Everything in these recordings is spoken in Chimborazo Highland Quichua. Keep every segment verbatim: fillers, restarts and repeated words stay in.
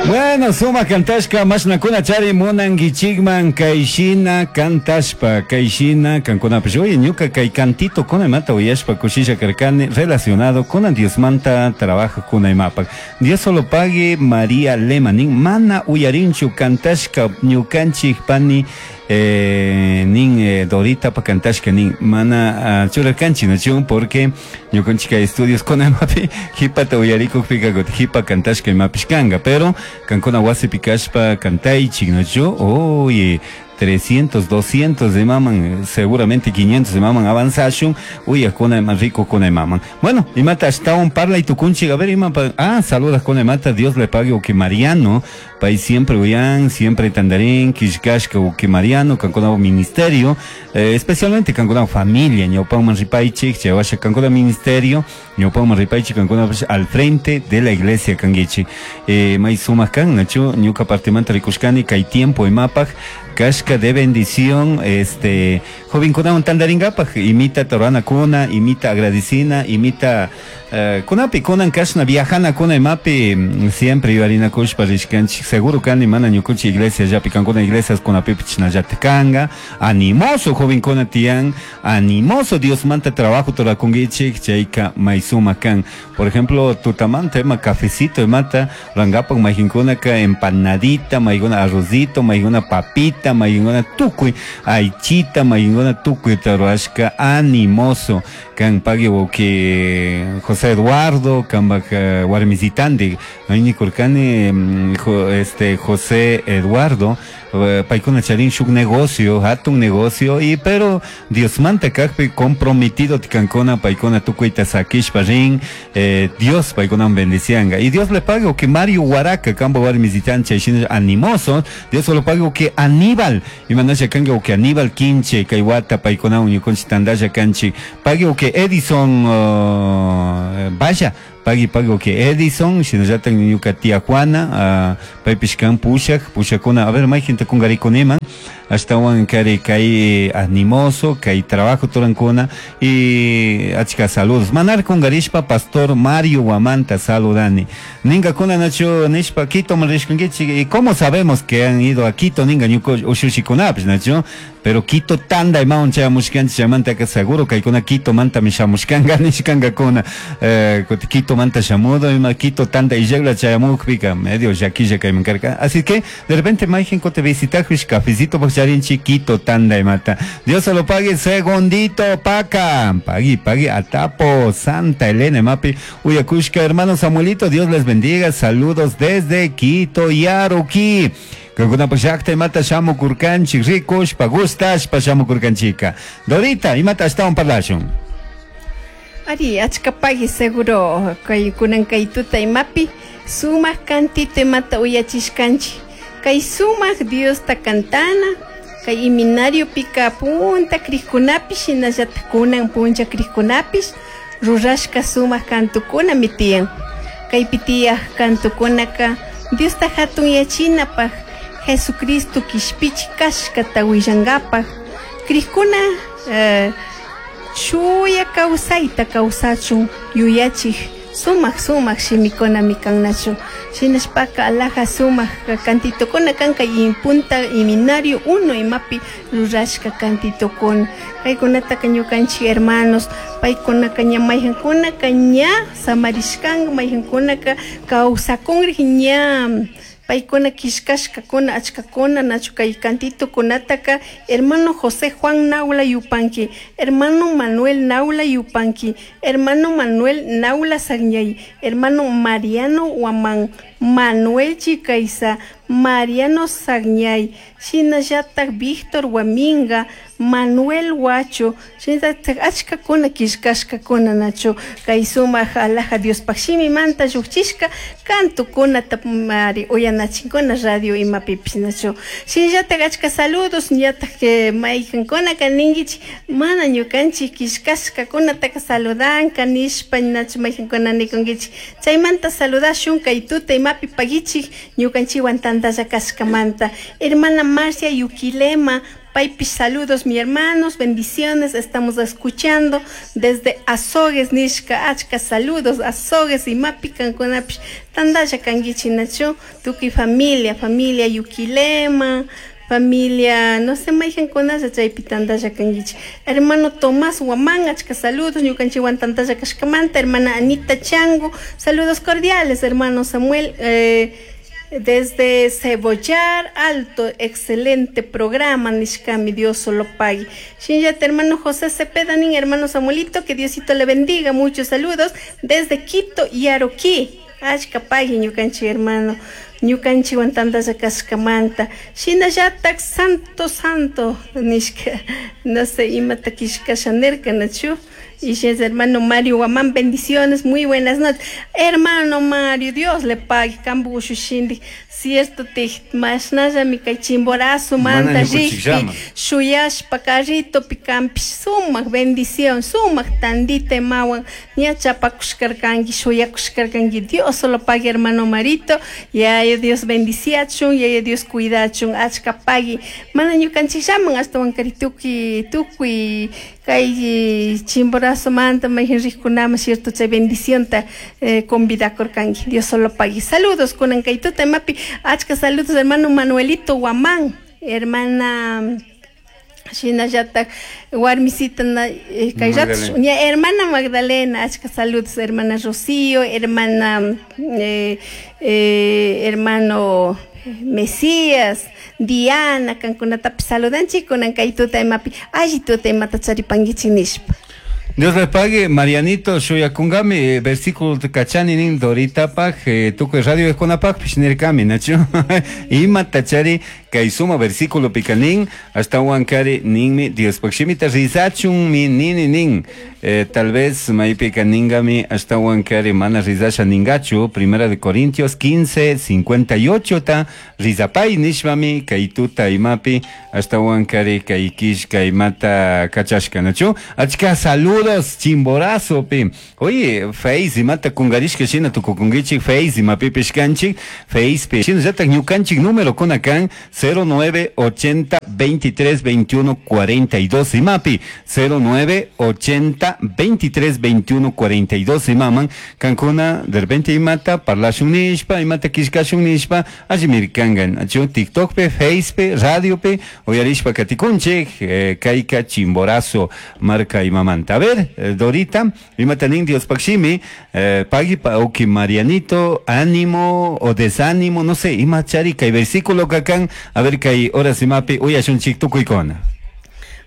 Bueno, suma kantashka mashnakuna chari munankichikman kayshina kantashpa kayshina kankunapish. Oye, ñuka kay cantito kunamanta uyashpa kushisha karkani relacionado con Diosmanta trabajo kunaymapak. Dios solo pague María Lema nin mana uyarinchu kantashka ñukanchik pani eh, nin eh, Dorita pa kantashka nin mana uh, churarkanchik nachu porque ñukanchik kay estudios kunaymapi hipata uyarikukpika kutin hipa kantashka imapish kanga, pero kankuna wasipi kashpa kantaychik nachu. Oye, trescientos, doscientos de maman, seguramente quinientos de maman avanzashun, uyakuna más rico kuna maman. Bueno, imata ashtawan parla y tukunchik, a ver, ima pa, ah, saludas con mata, Dios le pague o que Mariano, pay siempre uyan, siempre tandarín, kishkashka o que Mariano, kankuna ministerio, eh, especialmente kankuna familia, ñawpaman ripaychik, chaywasha kankuna ministerio, ñawpaman ripaychik, kankuna al frente de la iglesia kanguichi. Eh, may sumak kan, nachu, ñuka partimanta rikushkani, kay tiempo imapaj, kashka de bendición, este, jovenkunawan tandaringapaj, imita torana kuna, imita agradecina, imita uh, kunapi kunan kashna viajana kuna imapi siempre yuyarinakushpa rishkanchik, seguro kani mana ñukunchik iglesia llapi kankuna iglesias kunapipish chashnallata kanga, animoso jovenkuna tiyan, animoso Diosmanta trabajo rurakunkichik, chayka may sumak kan. Por ejemplo, tutamanta ima cafecito imata rangapak mayqinkunaka empanadita, maykuna arrozito, maykuna papita, maykuna tukuy aychita, maykuna tukuyta rurashka animoso kan pagui wawki José Eduardo kanpak uh, warmisitantik nikurkani este José Eduardo uh, paykuna charin shuk negocio hatun negocio y pero Diosmanta kakpi comprometido kankuna paykuna tukuyta sakishpa rin eh, Dios paykuna bendicianga y Dios le pague que Mario Huaraca kanpak warmisitan chay shina animoso Dios lo pague que Aníbal imanasha kanka que Aníbal Quinche kay wata paykuna ñukunchik tandalla kanchik pague que Edison uh, vaya pagui pagui que Edison shinallata ñuka tía Juana uh, paypish kan pushak pushakuna a ver mayjinta kungarikuniman ashtawan kari kay animoso kay trabajo turankuna y achka saludos manar kungarishpa pastor Mario Guamanta saludani ninkakuna nachu nishpa Quito rishkankichik y cómo sabemos que han ido a Quito ninga ñuka ushushikunapish nachu pero Quito tanda imawan chayamushkanchik chaymantaka seguro kaykuna Quito mantami shamushkanka nishkankakuna eh, Quito manta shamudo ima Quito tanda illakla chayamukpika medio llakilla kayman karka así que de repente mayjin kuti visitajush cafecito charinchik Quito tanda imata Dios se lo pague segundito paca pagui pagui atapo Santa Elena mapi uyakushka hermano Samuelito Dios les bendiga saludos desde Quito Yaruquí Kankunapak llakta imata shamukurkanchik rikushpa gustashpa shamukurkanchika Dorita imata ashtawan parlashun. Ari, achka pagui seguro kay kunan kay tuta imapi sumak cantito imata uyachishkanchik kay sumak Diosta kantana kay iminario pika punta krikunapish shinallata kunan punlla krikunapish rurashka sumak kantukunami tiyan kaypi tiyaj kantukunaka Diosta hatun yachinapaj Jesucristo kishpichik kashkata willankapaj krikuna eh, chuya kawsayta kawsachun yuyachik sumak sumak shimikunami kannachu shinashpaka alaja sumak cantitokuna kanka punta iminario uno imapi rurashka cantitokuna kaykunataka ñukanchik hermanos paykunaka ña mayjankunaka ña samarishkanka mayjankunaka kawsakunrik ña paykuna killkashkakuna achkakuna nachu kay cantitokunataka hermano José Juan Naula Yupanqui, hermano Manuel Naula Yupanqui, hermano Manuel Naula Sagñay, hermano Mariano Huamán, Manuel Chicaiza, Mariano Sagñay, shinallatak Víctor Huaminga, Manuel Huacho, shinallatak achkakuna killkashkakuna nachu kay sumak alaja Diospaj shimimanta llukchishka kantukunata mari uyanachinkuna radio imapipish nachu shinallatak achka saludos ñatak maykankunaka ninkichik mana ñukanchik killkashkakunataka saludanka nishpa nachu maykankuna nikunkichik chaymanta saludashun kay tuta imapi pagichik ñukanchikwan tantalla kashkamanta hermana Marcia Yuquilema Paypish saludos mi hermanos, bendiciones, estamos escuchando desde Azogues nishka, achka saludos, Azogues imapi kankunapish tandalla kankichik nachu, tukuy familia, familia Yuquilema, familia, no sé, mayqankunalla chaypi tantalla kankichik. Hermano Tomás Guamán, achka saludos, ñukanchikwan tantalla kashkamanta, hermana Anita Chango, saludos cordiales, hermano Samuel, eh, desde Cebollar Alto, excelente programa, nishkami, Dios solo pague. Shinllata, hermano José Cepeda, nin, hermano Samuelito, que Diosito le bendiga, muchos saludos, desde Quito y Aroquí, achka pagui ñukanchik hermano, ñukanchikwan tantalla kashkamanta, shinallatak santo santo nishka, no sé, imata kishkasha nirka nachu. Y es hermano Mario Guamán, bendiciones, muy buenas noches. Hermano Mario, Dios le pague, kambu shushindi, cierto te mashnalla mi kay chimborazo manta rikpi, shuyashpa carrito pikampish, sumak bendición, sumak tandita imawan, ña chapakushkarkanki, shuyakushkarkanki, Dios solo pague, hermano Marito, yaya Dios bendiciachun, yaya Dios cuidachun, achka pagui, mana ñukanchikllaman ashtawan kari tukuy, tukuy, kay chimborazo manta mayqin riqkunama cierto chay bendicionta eh, convidakurkanki, Dios solo pague. Saludos kunan kay tuta imapi, achka saludos hermano Manuelito Guamán, hermana shinallatak warmisita na, eh, kay rato, ña, hermana Magdalena, achka saludos hermana Rocío, hermana eh, eh, hermano Mesías, Diana, kankunatapi saludanchik kunan kay tuta imapi, alli tuta imata charipankichik nishpa. Dios le pague, Marianito, shuyakungami, eh, versículo kachani nin Doritapaj, eh, tukuy radio eskunapaj, pishnirkami, nachu, ima tachari, kay suma versículo pikanin, hasta huancari ninmi, Dios pakshimita rizachun mi nini nin, eh, tal vez maipika ningami, hasta huancari mana rizasha ningachu, primera de Corintios quince, cincuenta y ocho ta, rizapay nishmami, kay tuta imapi, hasta huancari kay kish kay mata kachashka, nachu, achka saludos Chimborazo pi. Oye, Face imata kungarishka shina tukukungichik, Face imapi pishkanchik, Face pi. Shinallatak ñukanchik número kunakan cero nueve ochenta veintitrés veintiuno cuarenta y dos imapi, cero nueve ochenta veintitrés veintiuno cuarenta y dos imaman, kankuna de repente imata parlashun nishpa, imata kishkashun nishpa, allimirkangan, achu TikTok pe, Face pe, radio pe, oyarishpa katikunchik, eh, kayka Chimborazo marka imamanta. A ver, Dorita, imatanin Dios pakshimi, eh, pagui pa oki Marianito, ánimo o desánimo, no sé, imachari kay versículo kakan, a ver kay horas imapi uyashunchik tukuykuna.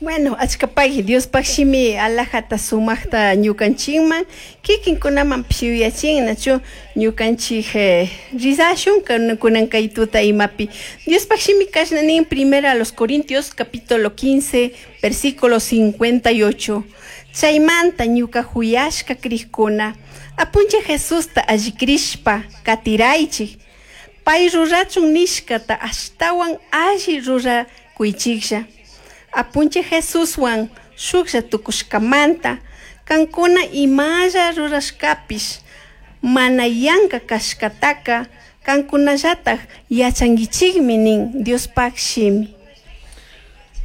Bueno, achka pagui Dios pakshimi alajata sumaqta ñukanchikman, kikinkunaman pishuyachin, nachu ñukanchik eh, rizashun kunan kay tuta imapi. Dios pakshimi kashna nin primera a los Corintios capítulo quince, versículo cincuenta y ocho. Chaymanta ñuka huyashka krikuna, apunche Jesusta allikrishpa katiraychik, pay rurachun nishkata ashtawan alli rurakuychiklla. Apunche Jesuswan shuklla tukushkamanta, kankuna imalla rurashkapish, mana yanka kashkataka, kankunallataj yachankichikmi nin Diospaj shimi.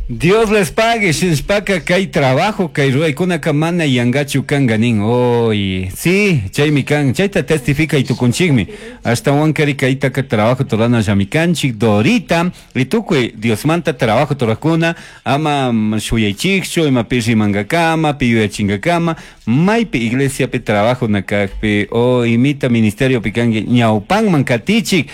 Dios les pague, shinshpaka kay trabajo, kay ruaykunaka mana yangachu kanga nin. Oy, sí, chaymi kan, chayta testifica y tukunchikmi. Hasta wankari kaytaka trabajo torana llamikanchik, Dorita, y tukuy Diosmanta trabajo torakuna, ama shuyaychikchu, ima pirri mangakama, piyuyachingakama, maypi iglesia pe trabajo nakakpi, o imita ministerio pikangi, ñawpanman katichik,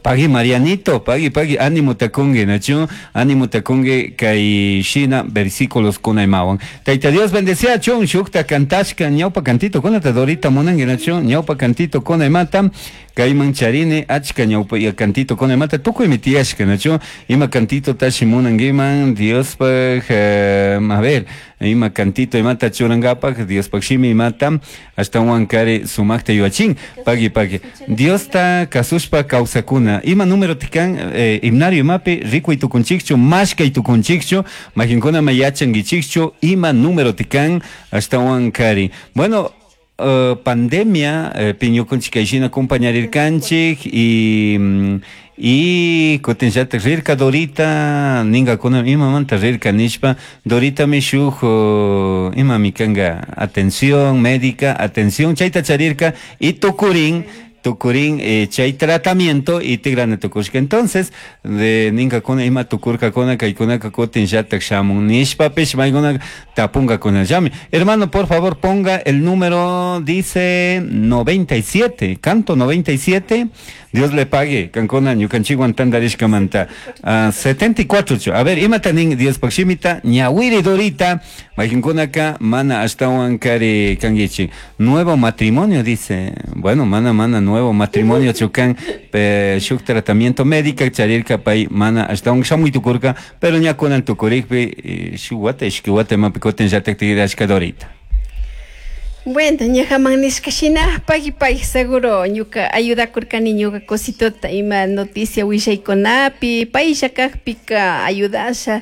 pagui Marianito, pagui, pagui, ánimo takungi, nachu, ánimo takungi, kay shina versículos kunaymawan. Tayta Dios bendecía chun, shukta kantashka, ñawpa cantito, kunata Dorita munangi, nachu, ñawpa cantito kunaymata, kayman charine, achka ñawpa cantito kunaymata, tukuy mitiyashka, nachu, ima cantito tashi munangiman, Dios pag, eh, a ver, ima cantito imata churangapak, Dios pag shimi imata, hasta huancari sumakta yuachin, pagui pagui. Dios ta kasushpa kawsakuna, ima número tikan, eh, himnario imapi, rikuy tukunchikchu, mashkay tukunchikchu, majinkuna mayachangichikchu, ima número tikan, hasta huancari. Bueno, uh, pandemia eh, piñukunchik kayshina compañarirkanchik y y kutinllatak rirka Dorita ninkakuna imamanta rirka nishpa Doritami shuk uh, imami kanka atención médica atención chayta charirka y tukurin tukurin eh, chay tratamiento y tigrana tukushka. Entonces de ninkakuna ima tukurkakuna kaykunaka kutinllatak shamun nishpapish maykuna tapunkakunallami. Hermano, por favor, ponga el número, dice noventa y siete, canto noventa y siete. Dios le pague, kankuna ñukanchikwan tantarishkamanta. Uh, setenta y cuatro. A ver, imata nin Diospaj shimita ñawiri Dorita, mayqinkunaka mana ashtawan kari kankichik. Nuevo matrimonio, dice. Bueno, mana mana nuevo matrimonio chukan, shuk tratamiento médico charirka pay mana ashtawan shamuy tukurka, pero ña kunan tukurikpi shuk wata ishki wata imapi kutinllatak tigrashka Dorita. Bueno, ñajaman nishka shina pagui pagui seguro ñuka ayudakurkani ñuka cositota ima noticia willaykunapi paysha kajpika ayudasha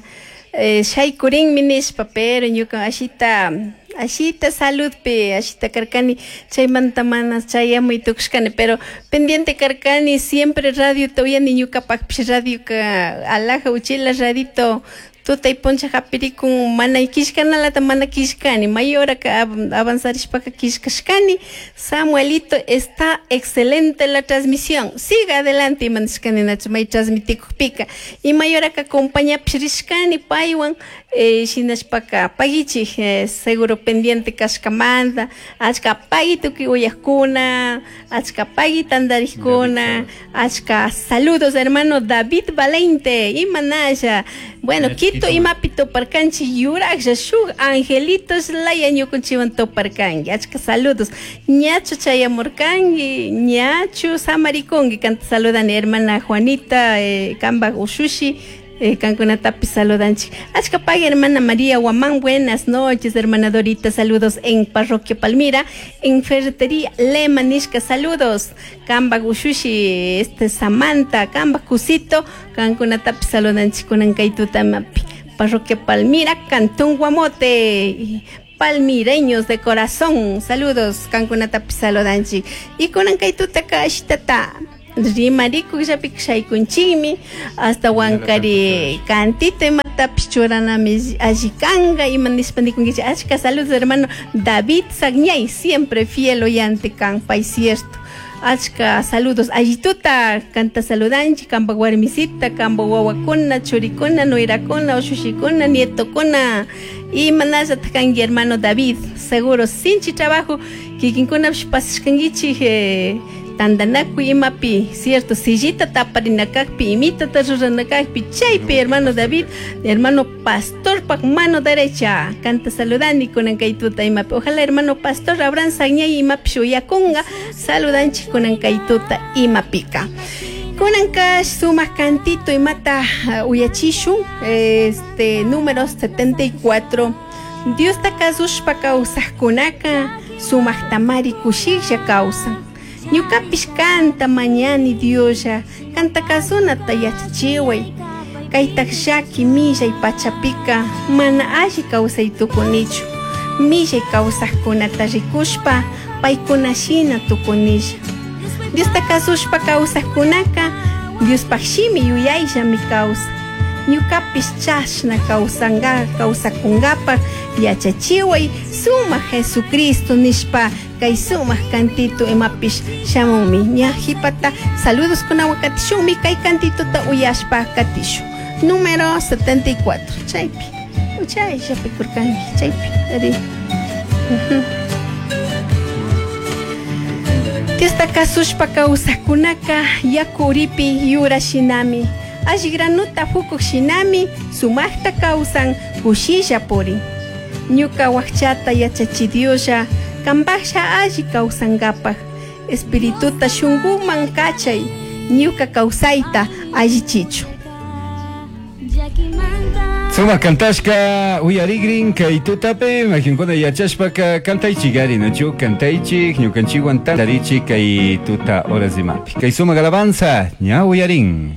eh, shaykurinmi nishpa, pero ñuka ashita ashita saludpi ashita karkani chaymanta mana chayamuy tukushkani, pero pendiente karkani siempre radiota uyani ñukapakpish radioka alaja uchila radito tutay puncha hapirikun mana kishkanalata mana kishkani mayoraka avanzarishpaka kishkashkani. Samuelito, está excelente la transmisión, siga adelante imanishkani nachu may transmitikukpika y mayoraka acompañapish rishkani paywan eh, shinashpaka pagichik eh, seguro pendiente kashkamanta achka pagui tukuy uyajkuna achka pagui tantarikuna achka saludos hermano David Valente imanasha. Bueno, Quito imapi toparkanchik yuraqlla shuk angelitos laya ñukunchikwan toparkanki achka saludos ñachu chayamurkanki ñachu samarikunki kanta saludani hermana Juanita eh, kambaj ushushi eh, kankunatapi saludanchik achka pagui hermana María Guamán, buenas noches hermana Dorita, saludos en Parroquia Palmira en Ferretería Lema nishka saludos kambaj ushushi este Samantha kambaj kusito kankunatapi saludanchik kunan kay tutamapi Parroquia Palmira, Cantón Guamote, palmireños de corazón, saludos kankunatapi saludanchik y kunan kay tutaka ashitata rimarikukllapika shaykunchikmi hasta wankari cantito imatapish churanami alli kanka ima nishpa nikunkichik achka saludos hermano David Sagñay, siempre fiel oyente kan pay cierto achka saludos allituta kanta saludanchik kampa warmisita kampa wawakuna churikuna nuirakuna ushushikuna nietokuna imanallataq kanki hermano David, seguro sinchi trabajo kikinkunapish pasashkankichik eh, tantanakuy imapi cierto sillita taparinakajpi imitata ruranakajpi chaypi hermano David, hermano pastorpak mano derecha kanta saludani kunan kay tuta imapi ojalá hermano pastor Abraham Sagñay imapish uyakunqa saludanchik kunan kay tuta imapika. Kunanka sumaq cantito imata uh, uyachishun este número setenta y cuatro. Diosta kasushpa kawsaqkunaka sumaqtamari kushiklla kawsan. Ñukapish kanta mañani Dioslla kanta kasunata yachachiway kaytaq llaki millay pachapika mana alli kawsay tukunichu millay kawsaqkunata rikushpa paykuna shina tukunilla. Diosta kasushpa kawsaqkunaka Diospaq shimi yuyayllami kawsan ñukapish chashna kawsanka kawsakunkapaq yachachiway sumaq Jesucristo nishpa kay sumaq cantito imapish shamunmi ña jipata saludos kunawan katishunmi kay cantitota uyashpa katishun número setenta y cuatro chaypi uchayllapi kurkanki chaypi ari. Diosta kasushpa kawsaqkunaka yaku uripi yura shinami alli granuta fukuq shinami sumaqta kawsan kushilla purin ñuka wakchata yachachi Dioslla kampaqlla alli kawsankapaq espirituta shunkuman kachay ñuka kawsayta allichichu. Sumaq kantashka uyarigrin kay tutapi makinkuna yachashpaka kantaychik ari nachu kantaychik ñukanchikwan tantarichik kay tuta horas imapi kay sumaq alabanza ña uyarin.